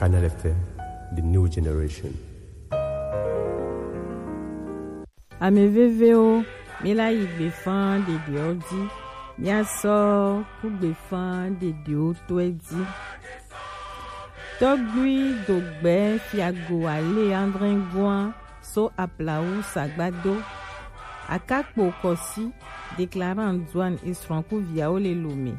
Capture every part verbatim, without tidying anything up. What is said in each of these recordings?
Canal F M, the new generation. Ame vevewo, mi la yi gbefa ɖeɖewo ji, mi asɔ ku gbefa ɖeɖewo tɔe ji. Tɔgbui dogbe fiago ale André Goin so aplawu sagbado. Akakpo Kɔsi, déclarant douane esrɔ̃ ku viawo le Lomé.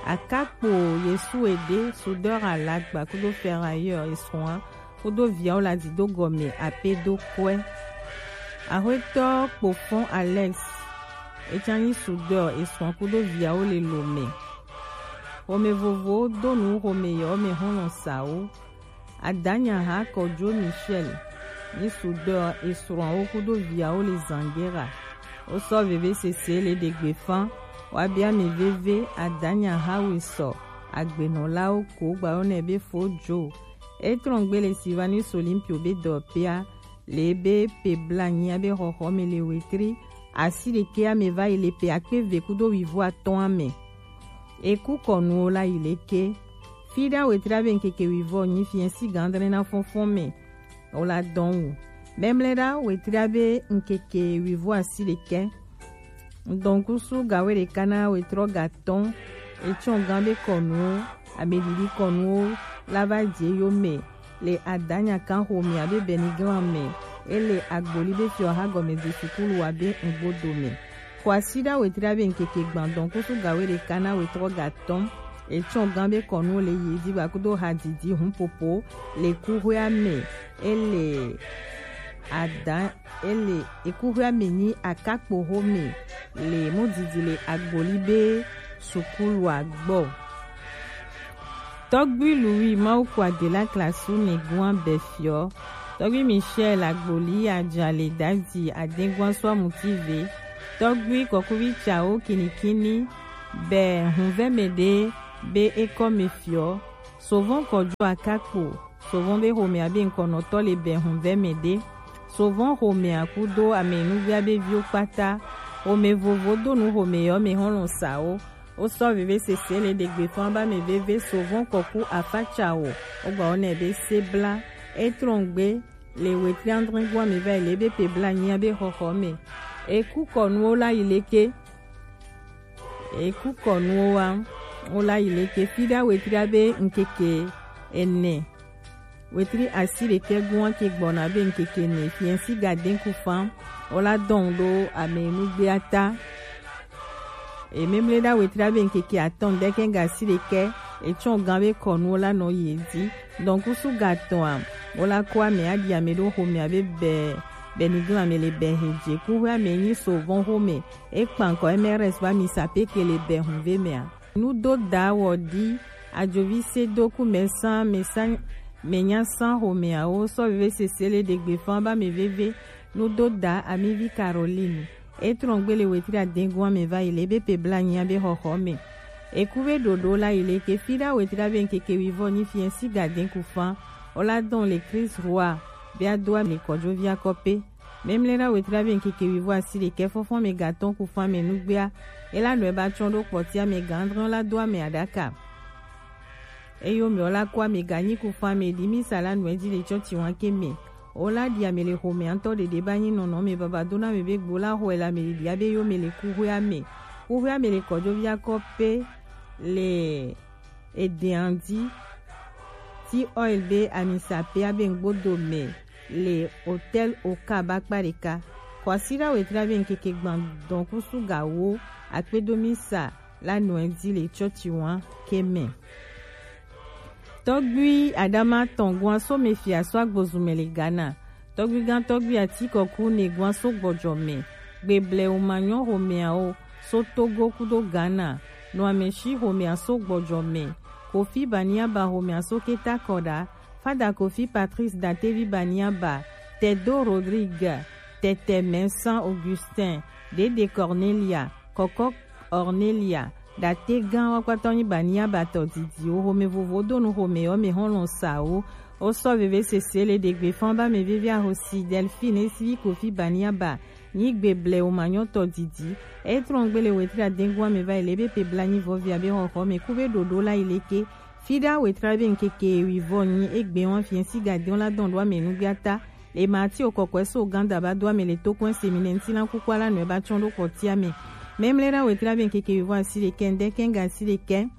Akakpo Yesu Ede, soudeur alagba kudo ferrailleur esrɔ̃a kudo viawo la dido gɔme ape do kɔe. Axwetɔ Kpofɔn Alex, etsanyi soudeur esrɔ̃ kudo viawo le Lomé. Xɔme vovowo do nu xɔme yewo me xɔlɔ̃ sawo. Adanyaha Kɔjo Michel, nyi soudeur esrɔ̃awo kudo viawo le Zangera. Wosɔ vevesese le ɖe gbefa, wa bia mi veve Adanyaha Wesɔ, agbenɔlawo ko gba yɔnɛ be Fojo. Etrɔngbe le Sylvanus Olympio be dɔpea, le be pe blanyi abe xɔxɔ me le wetri asi ɖekɛ ame va yi le pe akpe ve kudo wivo atɔ̃ ame. Eku kɔnuwo la yi leke. Fiɖa wetri abe ŋkeke wivo nyi fiɛ si gandre na fɔnfɔn me. O la dɔn wu. Memle ɖa wetri abe ŋkeke wivo asi ɖekɛ. Ŋdɔnkusu gawe ɖeka na wetrɔ gatɔn. Etsɔ gan be kɔnuwo, ameɖiɖi kɔnuwo la va dze yo me. Le Adanyakan xomɛ abe Beniglame, ele agboli be fiɔ ha gɔme de sukulu abe ŋgbodo me. Xɔ asi ɖa wetri abe ŋkeke gbãdɔn kusu gawe ɖeka na wetrɔ gatɔn. Etsɔ gan be kɔnu le yi di gba kudo hadidi hun popo le kuxoea me. Ele ada ele ekuxoea me nyi akakpo xomɛ le mudidi le agboli be sukulua gbɔ. Tɔgbui Louis Mawu kua de la klasu ne gua bɛ fiɔ. Tɔgbui Michel agboli aja le dadi adengua sua mutive. Tɔgbui kɔkuvi tsawo kinikini bɛ hunvɛ me ɖe be ekɔ me fiɔ. Sovɔn kɔjo akakpo. Sovɔn be xomɛ abe ŋkɔnɔtɔ le bɛ hunvɛ me ɖe. Sovɔn xomɛ akudo ame nugbea be viwo kpata. Xomɛ vovo do nu xomɛ yɔ me xɔlɔ̃ sawo. Wosɔ vevesese le ɖe gbefa ba me veve sovɔn kɔku afatsa o. Wogba wo nɛ be sebla. Etrɔngbe le wetri andrɛngua me va yi le be pe bla nyia be xɔxɔ me. Eku kɔnuwo la yi leke. Eku kɔnuwo wa wo la yi leke fiɖa wetri abe ŋkeke ene. Wetri asi ɖekɛ gua ke gbɔna be ŋkeke ne fiɛnsi gaden kufan o la dɔn ɖo ame nugbea ta. Ememle ɖa wetri abe ŋkeke atɔn ɖekɛ ga asi ɖekɛ etsɔ gan be kɔnu o la nɔ yi edzi. Dɔnkusu gatɔn a o la kɔ ame aɖi ame ɖo xomɛ abe bɛ bɛ niglan ame le bɛ he dze kuxwe ame nyi sovɔn xomɛ ekpan kɔ M R S ba mi sapeke le bɛ hunve mɛ a. Nudoda wɔ ɖi ajovi se do ku mɛ san mɛ san mɛ nya san xomɛawo sɔ veve sese le ɖegbe fan ba mɛ veve. Nudoda amivi Caroline etrɔn gbe le wetri adengun amɛ va yi le ebe pe bla nyia be xɔxɔ mɛ. Eku be ɖoɖo la yi le ke fi ɖa wetri abe ŋkeke wivɔ nyi fiɛ si gaden ku fan o la dɔn le Chris Roy be ado amɛ kɔjovi akɔ pe. Memle ɖa wetri abe ŋkeke wivɔ asi ɖekɛ fɔfɔ mɛ gatɔn ku fan mɛ nugbea. Ela nɔ eba tsɔn ɖo kpɔtia mɛ gandrɔn la do amɛ aɖaka. Eyo mɛ o la kɔ amɛ ganyi ku fan mɛ ɖi mi sa la nɔ edzi le tsɔtsi wan ke mɛ. O la ɖi amɛ le xomɛ ŋtɔ ɖeɖe ba nyi nɔnɔ mɛ baba do na mɛ be gbo la xɔe la mɛ ɖi abe yo mɛ le kuxwe amɛ. Kuxwe amɛ le kɔjovi akɔ pe le Edeandi ti oil be amisa pe abe ŋgbodo mɛ le hotel oka ba kpa ɖeka. Kɔsida wetri abe ŋkeke gban dɔn kusu ga wo akpedo mi sa la nɔ edzi le tsɔtsi wan ke mɛ. Tɔgbui Adama tɔn gua so mɛ fia so agbozu mɛ le Ghana. Tɔgbigan tɔgbi atikɔku ne gua so gbɔjɔ mɛ. Gbeblɛ o manyɔ xomɛawo so Togo kudo Ghana. Nɔ amɛshi xomɛa so gbɔjɔ mɛ. Kofi Baniaba xomɛa so keta kɔɖa. Fada Kofi Patrice Datevi Baniaba. Tedo Rodrigue. Tɛtɛ Mɛnsan Augustin. Dede Cornelia. Kɔkɔ Ornelia, ɖate gã wa kpatɔ nyi Baniaba tɔ didi wo xome vovo do nu xome yɔ me hɔn lɔn sa wo. Wo sɔ veve sese le ɖegbe fan ba me veve ahosi Delphine esivi Kofi Baniaba nyi gbeblɛ wo manyɔ tɔ didi. Etrɔn gbe le wetri adengun ame va yi le be pe bla nyi vɔvi abe xɔxɔ me ku be ɖoɖo la yi leke. Fida wetra be nkeke wivo nyi egbe wan fiensi gadion la don do ame nugbiata. Le mati okokwe so ganda ba do ame le tokwen semine nti la kukwa la nue ba chon do kotia me. Memle da wetra be nkeke wivo asi le ken de ken ga asi le ken.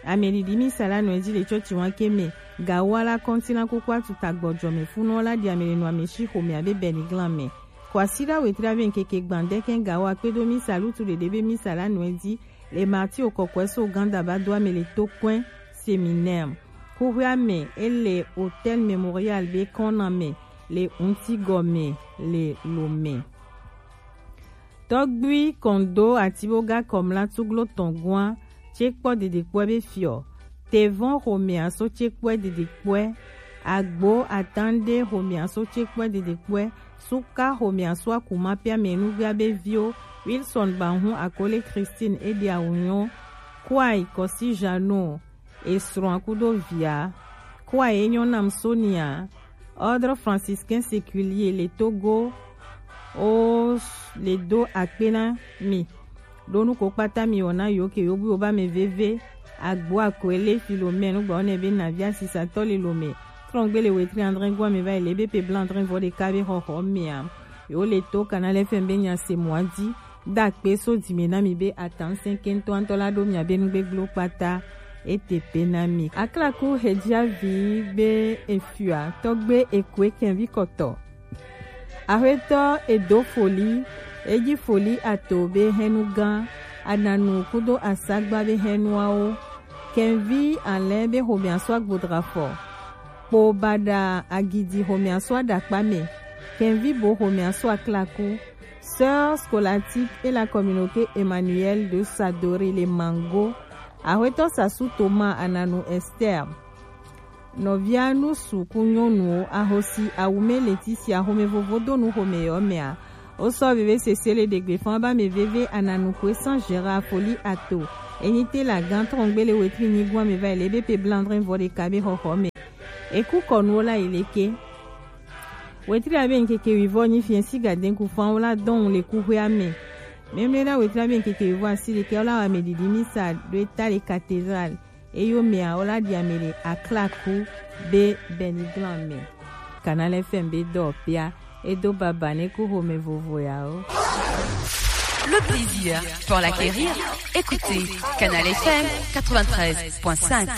Ame didi mi sala nue di le chochi wan ke me. Ga wa la konti la kukwa tuta gbojo me funo la di ame le no ame shi ho me abe beni glan me. Kwasida wetra be nkeke gbande ken ga wa kpedo mi salu tu dede be mi sala nue di. Le mati okokwe so ganda ba do ame le tokwen seminaire. Kuhwe ame ele Hôtel Mémorial be kona me le unti gome le lome. Tɔgbui kondo atiboga kɔmla tuglo tɔngua tsekpɔ dedekpɔɛ be fiɔ. Tevɔn homea so tsekpɔɛ dedekpɔɛ. Agbo atande homea so tsekpɔɛ dedekpɔɛ. Suka homea so akuma pia me nugbia be vio. Wilson Bahun Akole Christine Edi Awunyo. Kwai Kosi Jano. Esrɔ̃a kudo via. Kua ye nyɔ nam Sonia. Ordre franciscain séculier le Togo. O le do akpe na mi. Ɖo nu ko kpata mi wɔna yo ke yo bu yo ba me veve. Agbo akwele Philomène gba one be navia sisa tɔ le lome. Trɔngbe le wetri André gwa me va le be pe blanc André vɔ de ka be xɔxɔ mea. Yo le to Canal F M be nya se mwa di. Dakpe so dime na mi be atan sɛnkɛntɔ antɔ la ɖo miabe nugbegblẽwo kpata. Ete pe na mi. Aklaku hedziavi be efia tɔgbe ekoe kɛnvi kɔtɔ. Axwetɔ edo foli, edzi foli ato be hɛnu gã, ananu kudo asagba be hɛnuawo. Kɛnvi alɛ be homea so agbodra fɔ. Kpo baɖa agidi homea so aɖakpa me. Kɛnvi bo homea so aklaku. Sœur scolastique et la communauté Emmanuel de Sadori le Mango. Axwetɔ Sasu Thomas Ananu Esther. Nɔvia nusu ku nyɔnuwo ahosi awume Leticia xome vovo do nu xome yɔ mea. Wosɔ veve sese le ɖegbe fɔn ba me veve Ananu kue san Gérard foli ato. Enyi te la gan trɔngbe le wetri nyigua me va le be pe blandrin vɔ ɖeka be xɔxɔ me. Eku kɔnuwo la yi leke. Wetri abe nkeke wivɔ nyi fiensi gadenku fan wo la dɔn le kuxwea me. Memle na wetri abe nkeke wivɔ asi ɖekɛ wo la wa me didi misa ɖo eta le cathédrale. Eyo mea wo la ɖi ame le aklaku be beniglan me. Canal F M be dɔ pia edo baba ne ku xome vovo ya o. Le plaisir pour l'acquérir, écoutez Canal F M quatre-vingt-treize point cinq.